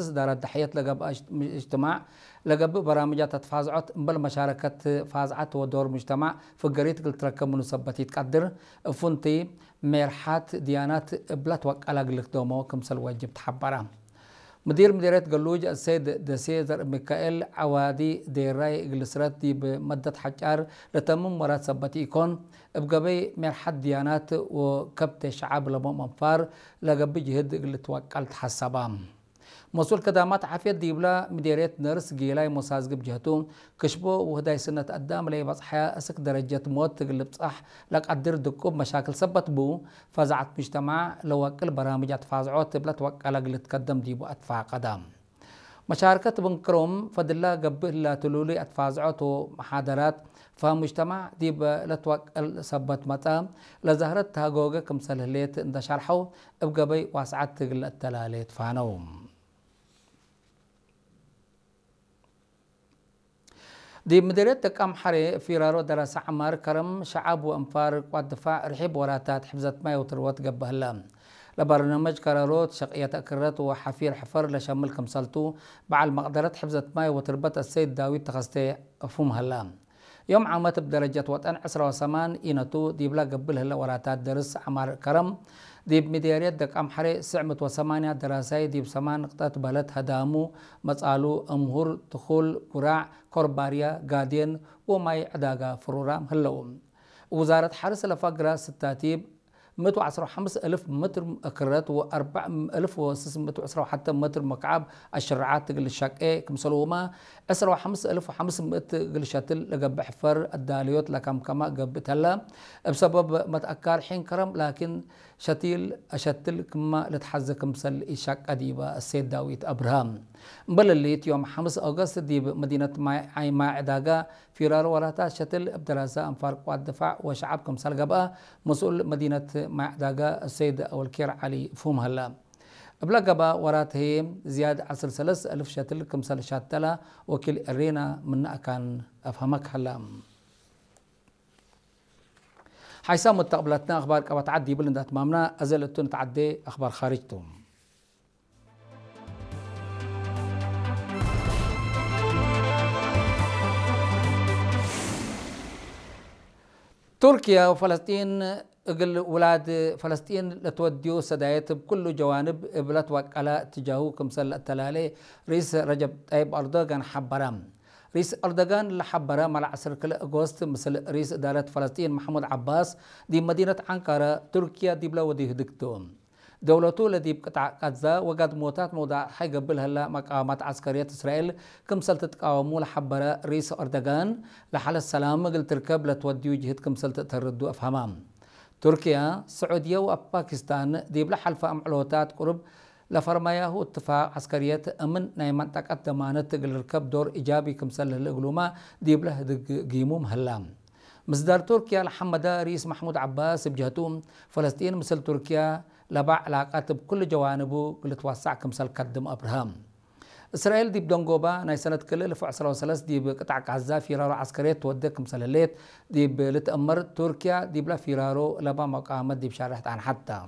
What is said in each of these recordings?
ስዳራት ዳሕየት ለገብአ እጅትማዕ ለገብእ በራምጃት ተትፋዝዖት እምበል መሻረከት ፋዝዓት ወዶር ሙጅተማዕ ፍገሪት እግል ትረከብ ምኑ ሰበት ይትቀድር። እፉንቲ ሜርሓት ድያናት እብላት ወቀላ እግል ክደሞ ክምሰል ወጅብ ተሓበራ። ምዲር ምዲርየት ገሉጅ አሰይድ ደሴ ዘርእ ሚካኤል ዓዋዲ ዴራይ እግል ስረት ዲብ መደት ሓጫር ለተምም ወራት ሰበት ኢኮን እብ ገበይ ሜርሓት ድያናት ወከብተ ሸዓብ ለቦም አንፋር ለገብእ ጅህድ እግል ትወቀል ተሓሰባ። መስኡል ከዳማት ዓፍየት ዲብላ ምዴርየት ነርስ ጌላይ ሞሳዝግብ ጀህቱ፣ ክሽቦ ውህዳይ ስነት አዳም ለይበጽሐያ እስክ ደረጀት ሞት ትግል ብጻሕ ለቀድር ድቁብ መሻክል ሰበት ቡ፣ ፈዛዐት ሙጅተማዕ ለወቅል በራምጅ አትፋዝዖ ትብለት ወቀለ ግልትከደም ዲቡ አትፋቀዳ። መሻርከት ብንክሮም ፈድላ ገብእ ህላ ትሉሊ አትፋዝዖ ቶ መሓደራት ፈ ሙጅተማዕ ዲብ ለትወቀል ሰበት መጻ ለዛህረት ተሃጎገ ክምሰል ህሌት እንተ ሸርሐው እብ ገበይ ዋስዓት ትግል እተላሌ ትፋነው። ዲብ ምድርየት ደቃም ሐሬ ፊራሮ ደረሰ ዐማር ከረም ሸዓብ ወእንፋር ቋት ድፋዕ ርሒብ ወራታት ሕፍዘት ማይ ወትርወት ገብእ ህለ። ለበርናመጅ ከረሮት ሸቅየት እክረት ወሐፊር ሕፈር ለሸምል ክምሰልቱ በዓል መቅደረት ሕፍዘት ማይ ወትርበት አሰይድ ዳዊት ተኸስተ እፉም ህለ። ዮም ዓመት እብ ደረጀት ወጠን ዕስራ ወሰማን ኢነቱ ዲብላ ገብእ ለህለ ወራታት ደርስ ዐማር ከረም፣ ዲብ ሚዴርየት ደቃም ሐሬ ስዕ ምእት ወሰማንያ ደራሳይ ዲብ ሰማን ንቅጠት በለት ሀዳሙ፣ መጻሉ፣ እምሁር፣ ትኹል፣ ጉራዕ፣ ኮርባርያ፣ ጋዴን ወማይ ዕዳጋ ፍሩራም ህለው። ውዛረት ሐርስ ለፋግራ ስታቲብ ምእት ወዐስራ ወሐምስ እልፍ ምትር ክረት ወአርባዕ እልፍ ወስስ ምእት ወዕስራ ወሐተ ምትር መክዓብ አሽርዓት እግል ሸቄ ክምሰልሁማ፣ ዕስራ ወሐምስ እልፍ ወሐምስ ምእት እግል ሸትል ለገብእ ሕፈር አዳልዮት ለከምከማ ገብእ ተላ። እብ ሰበብ መትአካር ሒን ከረም ላኪን ሸቲል አሸትል ክማ ልትሐዘ ክምሰል ኢሸቀ ዲበ እሴት ዳዊት አብርሃም። እምበል እሊት ዮም ሐምስ ኦገስት ዲብ መዲነት ማይ ዓይማ ዕዳጋ ፊራር ወራታት ሸትል እብ ደራሰ አንፋር ቋት ድፋዕ ወሸዓብ ክምሰል ገብአ፣ መስኡል መዲነት ማይ ዕዳጋ ሰይድ አወልኬር ዓሊ ፍሁም ሀላ። እብለ ገባ ወራት ህዬ ዝያድ ዐስር ሰለስ እልፍ ሸትል ክምሰል ሻተላ ወኪል እሬና ምነ አካን አፍሀመክ ሀላ። ሓይሳም ወተቅብለትና አኽባር ቀበት ዓድ ይብል እንዳትማምና፣ አዘ ለቱ ንትዓዴ አኽባር ኻርጅ ቱ። ቱርክያ ወፈለስጢን እግል ውላድ ፈለስጢን ለትወድዩ ሰዳየት እብ ኩሉ ጀዋንብ እብ ለትወቀላ እትጃሁ ክምሰል ለአተላሌ ሪስ ረጀብ ጠይብ አርዶጋን ሐበረ። ሪስ አርዶጋን ለሐበረ መልዓ ዐስር ክልኤ አጎስት ምስል ሪስ እዳረት ፈለስጢን መሕሙድ ዐባስ ዲብ መዲነት አንካራ ቱርክያ ዲብለ ወድዩ ህድግቱ። ደውለቱ ለዲብ ቅጣዕ ቃዛ ወጋድሞታት መውዳዕ ሐይገብእ ለህላ መቃወማት ዐስከርየት እስራኤል ክምሰል ትትቃወሙ ለሐበረ ሪስ ኦርደጋን፣ ለሐለት ሰላም እግል ትርከብ ለትወድዩ ጅህድ ክምሰል ትእተርዱ አፍሀማ። ቱርክያ፣ ስዑድየ ወፓኪስታን ዲብለ ሐልፈ አምዕሎታት ቁሩብ ለፈርማያሁ እትፋቅ ዐስከርየት እምን ናይ መንጠቀት ደማነት እግል ርከብ ዶር ኢጃቢ ክምሰል ለህለ እግሉማ ዲብለ ህድግ ጊሙም ህላ። ምስዳር ቱርክያ ለሐመደ ርኢስ ማሕሙድ ዐባስ እብ ጀህቱ፣ ፈለስጢን ምስል ቱርክያ ለባ ዕላቀት እብ ኩሉ ጀዋንቡ እግል ልትወሳዕ ክምሰል ከድም አብርሀ። እስራኤል ዲብ ደንጎባ ናይ ሰነት ክልኤ እልፍ ወዕስራ ወሰለስ ዲብ ቅጣዕ ጋዛ ፊራሮ ዐስከርየት ትወዴ ክምሰል ህሌት ዲብ ልትአመር፣ ቱርክያ ዲብለ ፊራሮ ለባ መቃወመት ዲብ ሻርሕ ጣንሐት ተ።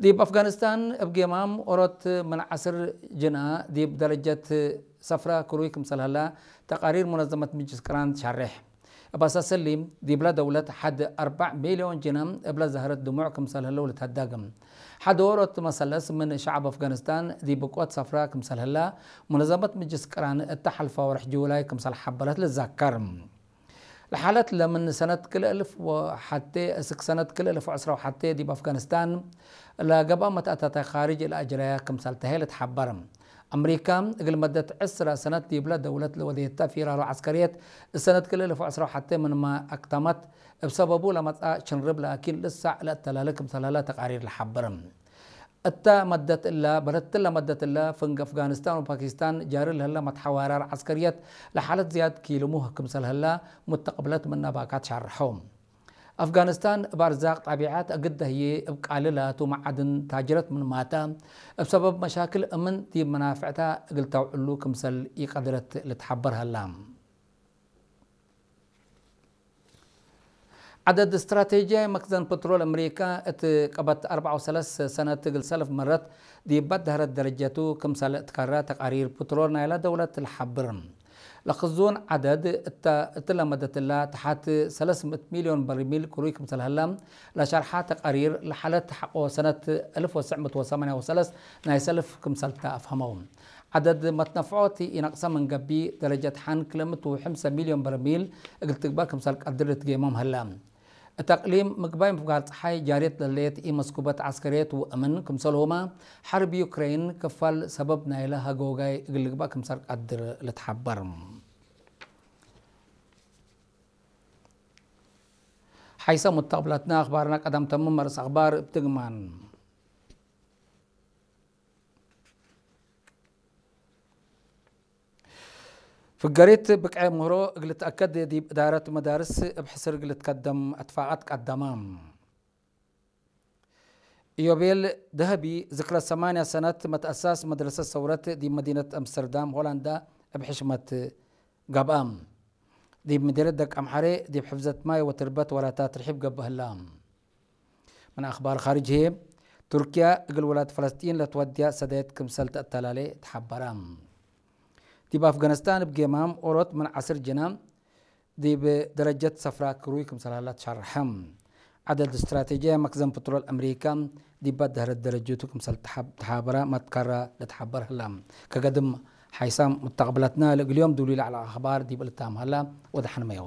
ዲብ አፍጋኒስታን እብ ጌማም ኦሮት ምን ዐስር ጅና ዲብ ደረጀት ሰፍራ ክሩይ ክምሰል ሀላ ተቃሪር ሙነዘመት ምጅልስ ቅራን ሻሬሕ። እብ አሳስ እሊ፣ ዲብለ ደውለት ሐድ አርበዕ ሚልዮን ጅና እብለ ዛህረት ድሙዕ ክምሰል ህለው ልትሀደግ። ሐድ ኦሮት መሰለስ ምን ሸዐብ አፍጋኒስታን ዲብ ብቆት ሰፍራ ክምሰል ህላ ሙነዘመት ምጅልስ ቅራን እተ ሐልፈ ወርሕ ጁላይ ክምሰል ሐበረት ልዘከር። ለሓለት ለምን ሰነት ክልኤ እልፍ ወሐቴ እስክ ሰነት ክልኤ እልፍ ወዕስራ ወሐቴ ዲብ አፍጋኒስታን ለገብአ መትአታተ ካርጅ ለአጅረያ ክምሰል ተሀ ልትሐበር። አምሪካ እግል መደት ዕስራ ሰነት ዲብለ ደውለት ለወዴተ ፊራሮ ዐስከርየት ሰነት ክልኤ እልፍ ወዕስራ ወሐቴ ምንመ አክተመት። እብ ሰበቡ ለመጽአ ሽንርብ ላኪን ልሳዕ ለአተላለ ክምሰል ሀለ ተቃሪር ለሐብር። እተ መደት እለ፣ በለትለ መደት እለ፣ ፍንግ አፍጋኒስታን ወፓኪስታን ጃሪ ለህለ መትሐዋራር ዐስከርየት ለሓለት ዝያድ ኪልሙህ ክምሰል ህለ ሙተቅብለት ምነ ባካት ሻርሐው። አፍጋኒስታን እብ አርዛቅ ጣቢዓት አግደ ህዬ እብ ቃሊ ላቱ መዓድን ታጅረት ምንማተ፣ እብ ሰበብ መሻክል እምን ዲብ መናፍዕታ እግል ተውዕሉ ክምሰል ኢቀድረት ልትሐበር ሀላ። ዓደድ ስትራቴጂያዊ መክዘን ፕትሮል ኣመሪካ እቲ ቀበት ኣርባዓ ወሰለስተ ሰነት እግል ሰልፍ መረት ዲባት ዳህረት ደረጀቱ ክምሳለ እትካራ ተቃሪር ፕትሮል ናይላ ደውለት ልሓብር። ለኽዙን ዓደድ እታ እትለመደትላ ተሓት ሰለስተ ሚእቲ ሚልዮን በርሚል ክሩይ ክምሰልሃላ ለሻርሓ ተቃሪር ለሓለት ሓቆ ሰነት ኣልፍ ወሰዕ ምእቲ ወሰማንያ ወሰለስተ ናይ ሰልፍ ክምሰልታ ኣፍሃመው። ዓደድ መትነፍዖቲ ኢነቅሰ መንገቢ ደረጀት ሓን ክለምቱ ሓምሳ ሚልዮን በርሚል እግል ትግባ ክምሰል ቀድር ልትጌሞም ህላ። እታ ኣቅሊም ምግባይ ምፍጋር ፀሓይ ጃርየት ለለየት ኢመስኩበት ዓስከርየት ውእምን ክምሰልሁማ ሓርብ ዩክሬን ክፋል ሰበብ ናይለ ሃገወጋይ እግል ልግባእ ክምሰል ቀድር ልትሓበር። ሓይሳ ሙተቅብላትና ኣኽባርና ቀዳም ተምም መርስ ኣኽባር ብትግማን። ፍገሪት ብቅዐ ምህሮ እግል ትኣከድ ዲብ እዳረት መዳርስ እብ ሕስር እግል ትከደም እትፋቀት ቀደማ። ኢዮቤል ደሀቢ ዝክረ ሰማንያ ሰነት መትአሳስ መድረሰት ሰውረት ዲብ መዲነት አምስተርዳም ሆላንዳ እብ ሕሽመት ገብአ። ዲብ ምድረት ደቅ አምሐሬ ዲብ ሕፍዘት ማይ ወትርበት ወራታት ርሒብ ገብእ ህላ። ምን አኽባር ኻርጅ ህዬ፣ ቱርክያ እግል ውላድ ፈለስጢን ለትወድያ ሰዳየት ክምሰል ተአተላሌ ተሓበራ። ዲብ አፍጋኒስታን እብ ጌማም ኦሮት ምን ዐስር ጅና ዲብ ደረጀት ሰፍራ ክሩይ ክምሰል ሀላ ተሸርሐ። ዐደድ እስትራቴጂያ መክዘን ፕትሮል አምሪካ ዲባት ደህረት ደረጀቱ ክምሰል ተሓብ-፣ ተሓበራ መትካራ ለተሓበር ህላ። ከገድም ሓይሳም ሙተቅብላትና ለእግልዮም ድውሊ ለዕለ አኽባር ዲብ እልታም ሀላ ወደሐንመዮ።